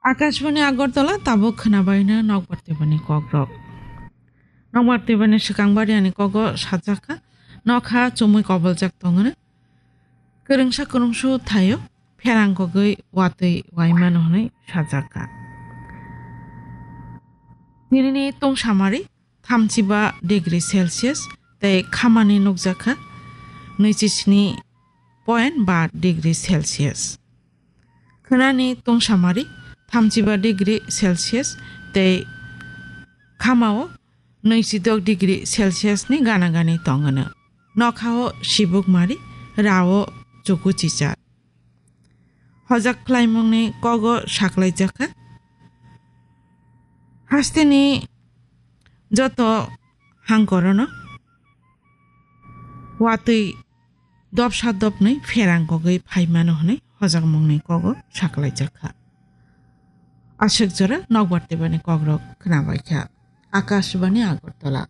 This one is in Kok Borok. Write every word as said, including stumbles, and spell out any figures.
Akashbani Agartala, tabuk khwnabaino nokbar tebani kokrok. Nokbar tebani swkang bariani kogo sajakha, nokha chumui koboljak tongwno. Kwrwngsa kwrwngsu thaio pherang kogwi watwi waimano hwnwi sajakha. Tinini tungsamari thamchiba degree Celsius tei khamani nukjakha nwichi sni point ba degree Celsius. Khwnani tungsamari thamchiba degree Celsius tei khamao nwichidok degree Celsius ni gana gani tongwno. Nokhao sibuk mari, rao chuku chichar. Hojak khlaimungni kogo saklaijakha. Hasteni joto hangkorono watwi dopsa dopnwi pherang kogwi phaimano hwnwi hojakmungni kogo saklaijakha. Aswk jora nokbar tebani kokrok khwnabaikha. Akashbani Agartala.